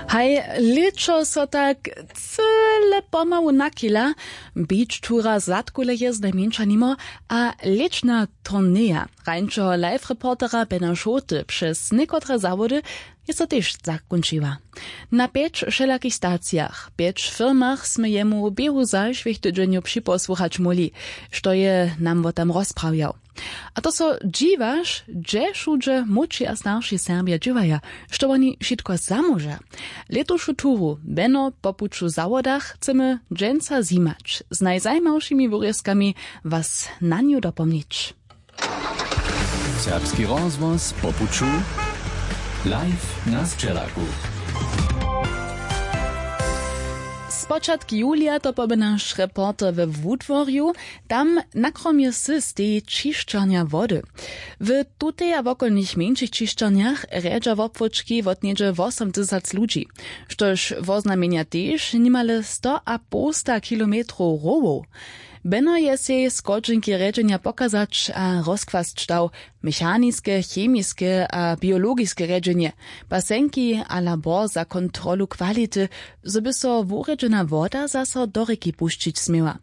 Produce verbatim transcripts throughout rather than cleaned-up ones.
Haj, lěćo so tak cyle pomału nachila. Beach tura zadkuleje znajmjeńša nimo, a lěćna turneja rańšeho live reportera Bena Šołty přez někotre zawody je so tež zakónčiła. Na pjeć wšelakich stacijach, pjeć firmach smy jemu w běhu zašłych tydźenjow připosłuchać móhli, što je nam wo tam rozprawjał. A to so dźiwaš, hdźe wšudźe młódši a starši Serbja dźěłaja, što woni wšitko zamóža. Lětušu turu Beno po puću zawodach chcemy dźensa zjimać, z najzajimawšimi wurězkami was na nju dopomnić. Serbski rozhłos po puću, live na sćelaku. Spočatk julija to poby naš reporter we Wudworju. Tam na kromje sy steji ćišćarnja wody. W tutej a wokolnych mjeńšich ćišćarnjach rjedźa wobchłódźki wot něhdźe wosomtysac ludźi, štož woznamjenja tež nimale sto a połsta kilometrow rowow. Beno je sej schodźeńki rjedźenja pokazać a rozkłasć dał, mechaniske, chemiske a biologiske rjedźenje, basenki a labor za kontrolu kwality, zo by so wurjedźena woda zaso do rěki pušćić směła.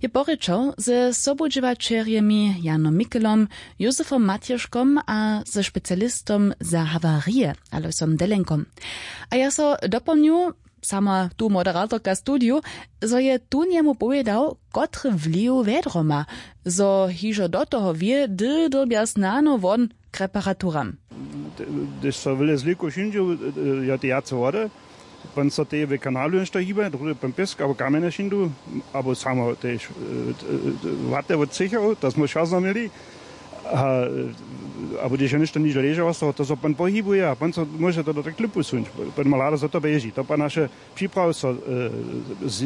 Je porěčał ze sobudźěłaćerjemi Janom Mikelom, Józefom Matješkom a ze specialistom za hawarije Alojsom Delenkom. A ja so dopomnju, sama tu moderatorka studiju, zo je tón jemu powědał, kotry wliw wjedro ma, zo hižo do toho wě, hdy dyrbja snano won k reparaturam. Hdyž so wyle zlěku wšindźu, ja, te jace wody, pon so teje w kanalu něšto hiba, druhdy pon pěsk abo kamjene wšindu, abo samo tež wate wot třěchow, to smo wšazno měli. A, abo hdyž je něšto nižo ležało z toho, to so pon pohibuje a pon so móže to do tak klupu suńć. Pon ma hlada, zo to běži, to pa naše připrawy so z